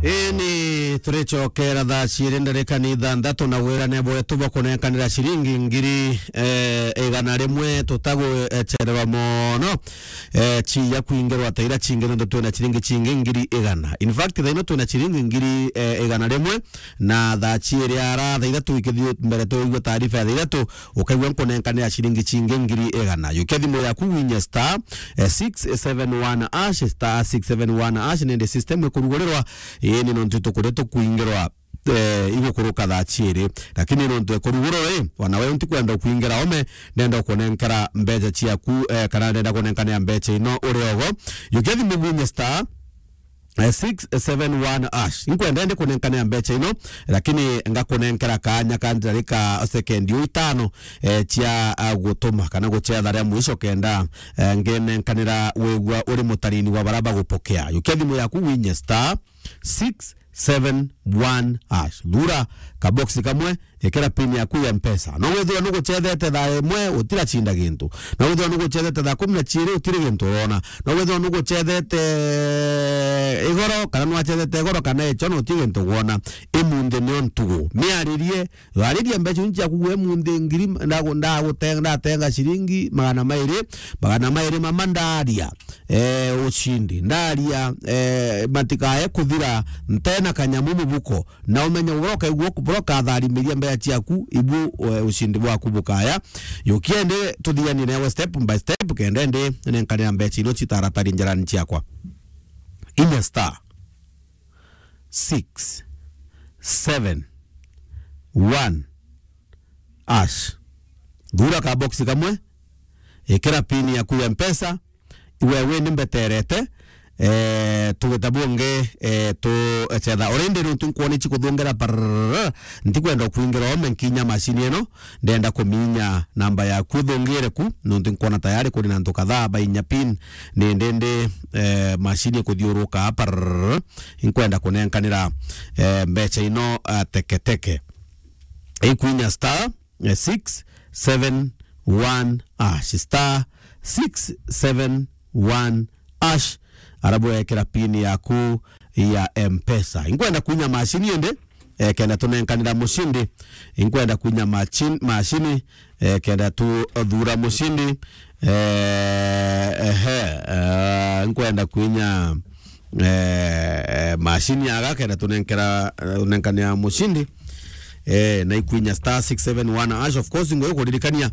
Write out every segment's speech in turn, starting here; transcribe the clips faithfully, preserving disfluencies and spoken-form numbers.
Ini turicokera thaa ciiri ndarika ni ithanthatu na wirane bwetu bwa kunenkanira ciringi ngiri, eh, igana rimwe tutagwechererwa mono, eh, ciya kwingirwa ta iria cingi nontu twina ciringi cingi ngiri igana. In fact, thaa ino twina ciringi ngiri, eh, igana rimwe na thaa ciiri ara thaa ithatu ikithii mbere tuigua taarifa ya thaa ithatu, ukaigua nkunenkanira ciringi cingi ngiri igana. Yukia thimu yaku winye star, eh, six seven one hash, star six seven one hash, nende system ikurugurirwa, ii, ni nontu tukuria tukwingirwa, eh, igukuruka thaa ciiri. Lakini nontu ekurugurwa ri, wana we ntikwenda kwingira ome, ndenda kunenkera mbeca ciaku, eh, kana ndenda kunenkanira mbeca ino uri ogo. Yukia thimu winye star, eh, six seven one hash. Inkwenda ndi kunenkanira mbeca ino, lakini ngakunenkera kaanya ka ndarika sekendi u itano, eh, cia, ah, gutuma kana gucetha ria mwisho kenda, eh, ngenenkanira wigua uri mutarini wa baria bagupokea. Yukia thimu yaku winye star six seven one hash. Thura kaboksi kamwe, ikira pin yaku ya Mpesa. No withirwa nugucethete thaa imwe, utiracinda gintu. No withirwa nugucethete thaa kumi na ciiri, utiri gintu urona. No withirwa nugucethete igoro, kana nwacethete igoro kana icho, na utiri gintu ugwona. Imunthi nio ntugu. Miaririe, ariria mbeca iu ciaku gwe imunthi ngiri, ndagu-, ndagutenga, ndatenga ciringi magana mairi, magana mairi mama ndaria, eh, ucindi. Ndaria, eh, matikae kuthira ntena kanyamu mubuko. Na umenye uria ukaigua, uria ukatharimiria mbeca ciaku, ibu, eh, ucindi bwaku bukaya. Yukia ndi tuthianie nawe step by step, kenda ndi nenkanira mbeca ino citaratari njarani ciakwa. Inya star six seven one hash. Thura ka box kamwe, ikira pin yaku ya Mpesa, iwe wini mbeterete, eh, tugita bungi, eh, tucetha. Already nontu nkwona ici kuthungira parrrr, ntikwenda kwingira ome nkinya macini ino, ndenda kuminya namba yaku ithungire ku, nontu nkwona tayari kuri na antu kadhaa bainya pin, ni ndindi, eh, macini ikuthiuruka parrrr, inkwenda kunenkanira, eh, mbeca ino, ah, teketeke. Ikwinya star, eh, six seven one hash, star six seven one hash, arabu wekira pin yaku ya Mpesa. Inkwenda kwinya macini indi, eh, kenda tunenkanira mucindi. Inkwenda kwinya machin-, macini, eh, kenda tuthura mucindi. Eh, ehe, eh, inkwenda kwinya eh, eh, macini aga kenda tunenkera, eh, tunenkania mucindi. Eh, na ikwinya star six seven one hash, of course, ngoyo kuririkania.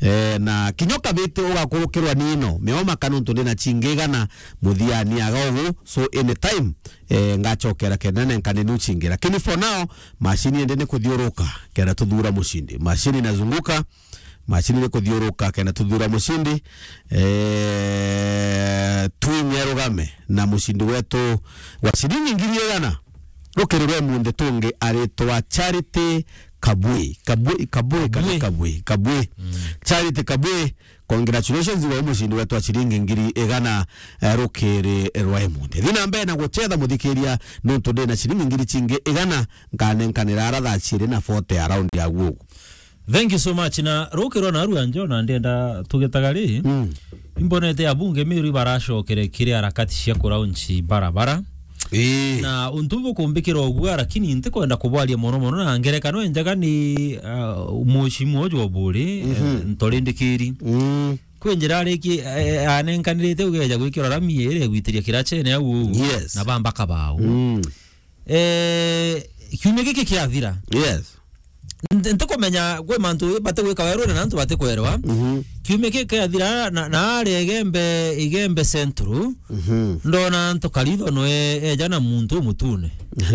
Eh, na kinyo kabiti ugakurukirwa nino, mioma kana untu ndina cingigana muthiani aga ugu, so anytime, eh, ngachokera kenda nenkane nu cingi. Lakini for now, macini ende ni kuthiuruka, kenda tuthura mucindi. Macini inazunguka, macini ni kuthiuruka kenda tuthura mucindi. Eh, twinye rugame na mucindi wetu wa ciringi ngiri igana. Rukiri rwa munthi tungi aritwa Charity Kabui. Kabui, Kabui, kana Kabui. Kabui, Kabui. Mm. Charity Kabui, congratulations wa mucindi wetu wa ciringi ngiri igana, eh, rukiri rwa munthi. Thina mbere na gucetha muthikiria, nontu ndina ciringi ngiri cingi igana, nkanenkanira ara thaa ciiri na forty around ya gugu. Thank you so much. Na rukirwa na arua njo na ndenda tugitaga ri. Mm. Imbonete abunge Meru ibaracokere kiri harakati cia kuraunchi barabara. Ii. Na untu bukumbikira uguo, lakini ntikwenda kubwaria mono mono, na ngerekano enjega ni, uh, mushimwa uju oburi, mhm, eh, Ntorindikiri. Mm. Kwi njira ariki, eh, anenkanirite ugeja gwikira rami iri gwitiria kirachene au. Yes. Na bamba kabao. Mm. Eh, kiumia giki kiathira. Yes. Nti-, ntikumenya kwi mantu bati gwika werune na antu bati kwerwa. Mhm. Kiumia giki kiathira na, na ari Igembe, Igembe Central. Mhm. Ndona antu karitho no e-, eja na muntu umutune.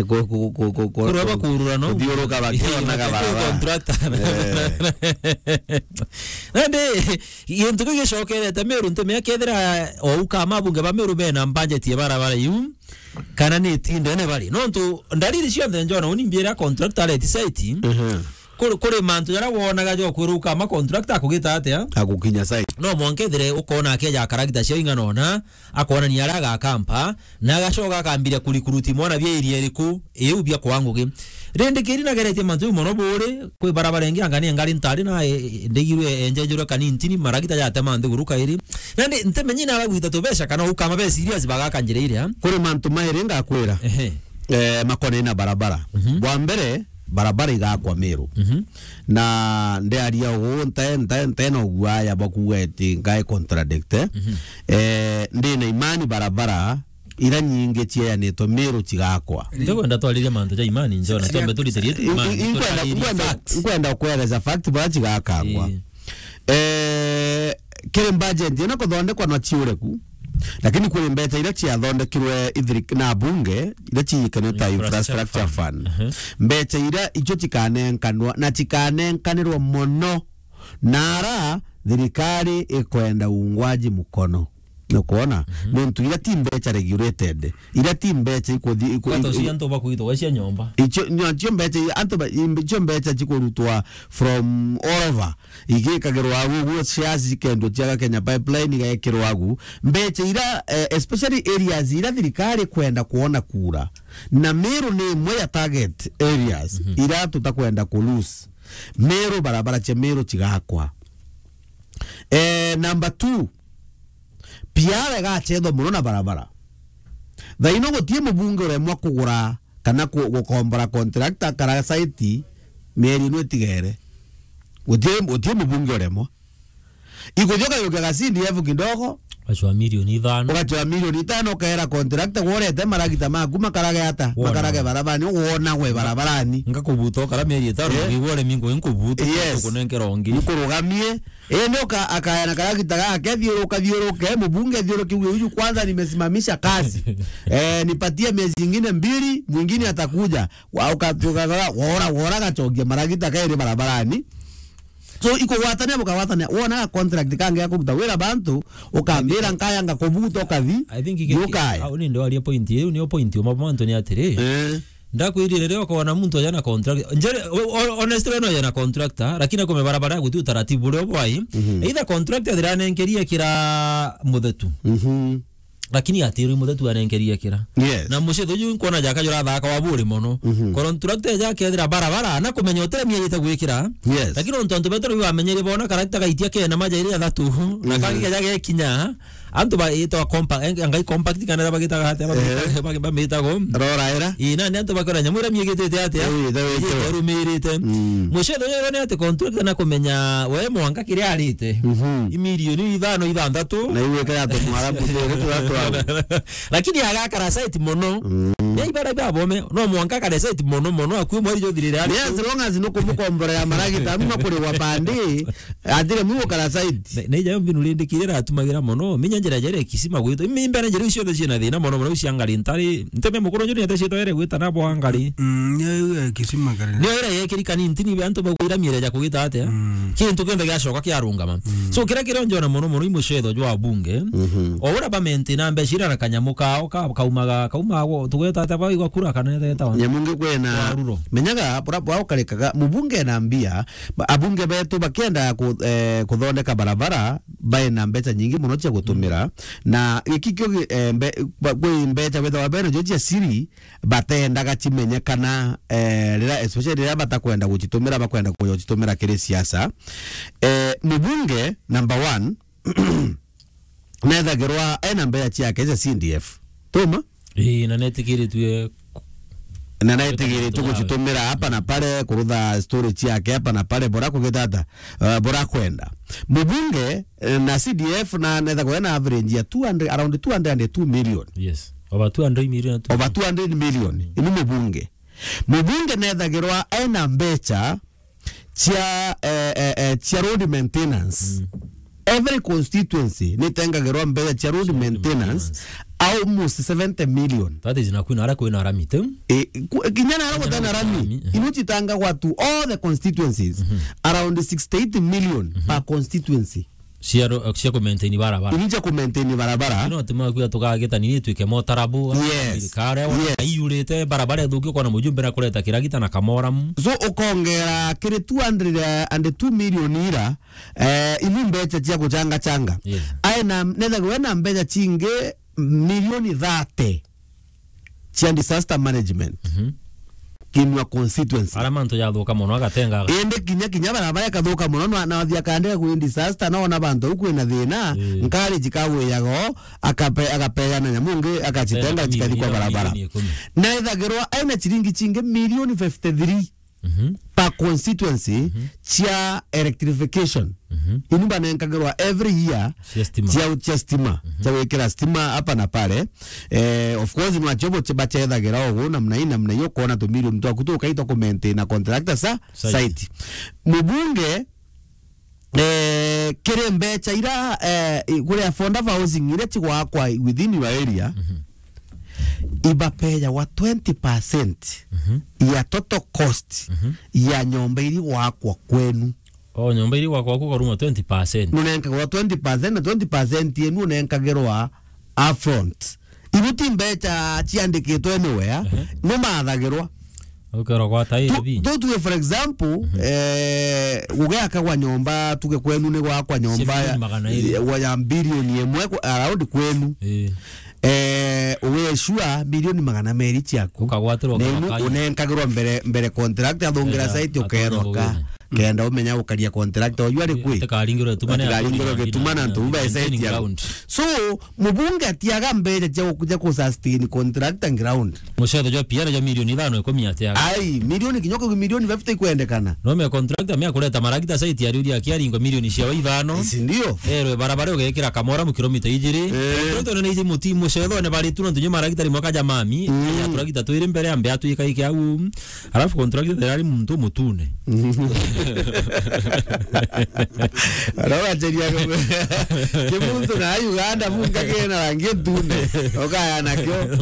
Ku-, ku-, ku-, ku-, ku-, kurwa bakurura no. Kuthiuruka bakionaga barabara. Contractor. Eh. Nandi, gintu kiu gicokerete Meru, ntumia kethira o ukama abunge ba Meru bena budget ya barabara iu. Kana ni tindene bari. Nontu ndariri cionthe njona uni mbiira contractor areti site. Mhm. Kuri, kuri mantu jaria wonaga jokwirwa ukama contractor akugita atia? Agukinya site. No mwanka ethire ukona akeja karagita cia ing'ana ona, akonania aria agakampa, na agacoka akambiria kurikuruti mwana bia area iriku, iu bia kwa ngugi. Rindi kiri nageretie mantu jau mono buri, kwi barabara ingi anga ni ngari ntari na, e, e, ndigirwe enjenjerwe kanintini, maragita jatema nthiguru kairi. Nandi ntimenyi na bagwita tubeca kana ukama be serious bagaka njira iria. Kuri mantu mairi ngakwira. Ehe. eh, makonene na barabara. Mhm. Bwa mbere, barabara igakwa Meru. Mhm. Na ndiaria uu, nte-, nte-, ntena uguaya bwa kuuga eti ngai contradict, eh? Mhm. Eh, ndina imani barabara ira nyingi cieanitwe Meru cigakwa. Ntikwenda twaririe mantu ja imani, Njona, twambe turitirie tu imani, inkwenda, turaririe inkwenda, facts. Inkwenda kueleza fact bwa cigakangwa. Ii. Eh, kiri budget ina kuthondekwa na ciureku, lakini kuri mbeca ira ciathondekirwe ithiri-, na bunge, ira ciikanitwe ta infrastructure fund. Infrastructure fund. Aha. Mbeca ira icio cikanenkanwa, na cikanenkanirwa mono, na ara thirikari ikwenda uungwaji mkono. Nukwona? Mhm. Nontu ira ti mbeca regulated. Ira ti mbeca ikuthi-, iku-, Kwata iku-, ucio antu bakwitwa cia nyomba. Icio, nyo, icio mbeca, antu ba-, im-, icio mbeca cikurutwa from all over. Igikagirwa agu, uguo shares ikendwa cia Kenya Pipeline igekirwa agu. Mbeca ira, eh, especially areas ira thirikari kwenda kuona kura. Na Meru ni imwe ya target areas, mhm, ira tutakwenda ku lose. Meru, barabara cia Meru cigakwa. Eh, number two, piara igacethwa mono na barabara. Thaino gutie mubunge uremwa kugura kana ku-, gukombora contractor kara site mieri ino itigere. Gutie, gutie mubunge uremwa. Ikuthi ukayukia ga C D F kidogo. Ugacwa milioni ithano. Ugacwa milioni ithano, ukaera contractor, worete maragita maku makarage ata? Wona. Makarage barabani, wona we barabarani. Ngakubuta ukara mieri itano, eh, wigwa uremi ngo nkubuta, yes, ukunenkera ungi. Nkurugamie. Indi uka-, akaya na karagita gake, thiuruka, thiuruke, mubunge, thiuruke, huyu, huyu kwanza nimesimamisha kazi. Eh, nipatie miezi ingine mbili, mwingine atakuja. Wa-, uka-, uka-, wora, wora gachogia maragita kairi barabarani. So, ikugwatania, bukagwatania. Wona contract kangi ya kuruta wira bantu, ukambira nkaya ngakubuta, ukathi, I think ike-, ukaya. Au ni ndio aria point, iu niyo point, uma mantu ni atiri. Eh. Ndakwirire riria ukona muntu aja na contract. Njere, o-, o-, honestly, no aja na contractor, lakini akume barabara guti utaratibu uria bwai. Mhm. Either contractor thiranenkeria kira muthetu. Mhm. Lakini atiri muthetu anenkerie kira. Yes. Na mucithu uju nkwona jaka jurathaka wa buri mono. Mhm. Contractor eja akethira barabara, na kumenya utire mieri ite gwikira. Yes. Lakini ontu antu betu riu bamenyere bona karagita gaitia kena maja iri athatu. Na, mhm, kangi keja gekinya, antu baitwa compa-, eh, ngai compact kana bagitaga atia, eh, bamita-, bamitago. Roraera. Ii, na ni antu bakora nyamu ira miegitite atia? Ii, ita-, ita-, ita-, irumirite. Mm. Mucithu uyu ni ati contractor na kumenya we mwanka kiria arite. Mhm. I milioni ithano, ithanthatu. Na iu ikira ati mwarabu tere turatwara. Lakini agakara site mono. Mm. Ni ibara bia bome, no mwanka kare site mono mono, akue mweri jothirire ari. Ni as long as nukumukomborera maragita, ama kuriwa bandi, atire mwi gukara site. Ne, ne ijayo mbinu rindikire ratumagira mono, minya njira jere kisima gwitwa. Imi mbere njira icio cionthe ciina thina mono, mono cia ngari ntari. Nteme mukuru njuri ete ciitwa ere gwita na bwa ngari. Mm, ya, ya, kisima ngari. Ni ira yekirika ni ntini be antu bagwira miere ja kugita atia. Mm. Kintu kionthe giacoka kiarungama. Mm. So, kira kiria njona mono mono i mucetho jwa bunge. Mhm. O ura ba maintain mbeca ira na kanyamu kao ka, kaumaga, kaumaga, tugweta atia, baigwa kura kana eta wa? Nyamu ngi kwena. Wa ruro. Menyaga, bura, bura ukarekaga, mubunge na mbia, ba-, abunge betu bakienda ku-, eh, kuthondeka barabara, bae na mbeca nyingi mono cia gutumira. Mm. Na giki kio gi-, eh, mbe-, ba-, kwi mbeca wethawa bena jo cia siri, batendaga cimenyekana, eh, rira, especially rira batakwenda gucitumira, bakwenda kuja gucitumira kiri siasa. Eh, mubunge number one, nethagirwa ena mbeca ciake cia C D F. Tuma? Ii, na netigiritue. Na netigiritue gucitumira hapa na pale, kurutha storage ciake hapa na pale, bora kugitata, eh, bora kwenda. Mubunge, eh, na C D F na nethagwa ena average ya two hundred, around two hundred and two million. Yes. Over two hundred million. Over two hundred million. Mm. Ini mubunge. Mubunge nethagirwa ena mbeca cia, eh, eh, eh, cia road maintenance. Mm. Every constituency nitengagirwa mbeca cia road maintenance, almost seventy million. That is na kwina ara kwina rami tu. Eh, ku-, kinya na ara gutena rami. Rami, eh. Ino citangagwa to all the constituencies. Mhm. Around sixty-eight million per constituency. Cia ro-, cia ku maintain barabara. Ini cia ku maintain barabara. Ino tima kuya tukageta nini twike motarabu. Yes. Thirikari wa, yes, aiyurite barabara ithuki, ukona mujumbe na kureta kiragita na kamoramu. So, ukongera kiri two hundred and two million ira, eh, ini mbeca cia guchanga changa. Yes. Ae na, nethagwa ena mbeca cingi milioni thirty cia disaster management. Mhm. Kinua constituency. Ara mantu jathuka mono agatenga. Indi kinya, kinya barabara ikathuka mono, na, na wathia kandika kwi disaster, na ona bantu au kwina thina, eh, nkareji kagwiyaga o, akape-, agapeana nyamu ngi, agacitenga, cikathi kwa barabara. Milioni ikumi. Na ethagirwa aina ciringi cingi milioni fifty-three, mhm, per constituency, mhm, cia electrification. Mhm. Inu banenkagirwa every year cia stima. Cia, cia stima, mhm, cia gwikira stima hapa na pale. Eh, of course, nwacio bo bacethagira ugu namna hii, namna hiyo, kuona tumilioni twaku tukaitwa ku maintain na contractor sa site. Site. Mubunge, eh, kiri mbeca ira, eh, kuri affordable housing iria cigwakwa within your area, mhm, ibapeyagwa twenty percent, mhm, ya total cost, mhm, ya nyomba iri gwakwa kwenu. O nyomba iri gwakwa ku karuma twenty percent. Nunenkagirwa twenty percent, na twenty percent yenu unenkagirwa upfront. Ibu ti mbeca ciandikitwe anywhere, ehe, numathagirwa. Ukerwa gwata iri bi. Tu-, tu-, tuge for example, mhm, eh, gugiakagwa nyomba, tuge kwenu ni gwakwa nyomba ya, milioni magana iri, ya, ya bilioni imwe ku-, around kwenu. Ii. Eh, ugecua milioni magana meri ciaku. Ukagwatirwa. Na inu unenkagirwa mbere, mbere contract athungira site, ukerwa ka. Kenda umenya gukaria contract oyu ari kwi. Atikaringirwe gituma na, atikaringirwe gituma na antu ba site ya ground. So, mubunge atiaga mbeca cia ku-, cia ku sustain contract and ground. Mucetho jwa P R jwa milioni ithano ikumi atiaga. Ai, milioni kinyoko, milioni fifty ikwendekana. No me contractor me akureta maragita site ya riuria akiaringwa milioni cia ithano. Si ndio? Erwe barabara ugekira kamora mu kilomita ijiri. Eh. Contractor nene iji muti mucetho ne bari tu no ntunye maragita ri mwaka ja mami. Mm. Ya turagita twiri mbere ambe atwika iki au. Alafu contractor tayari muntu mutune. Arora cheria kimuntu na Uganda munga kena rangi ntune. Okaya nakyo.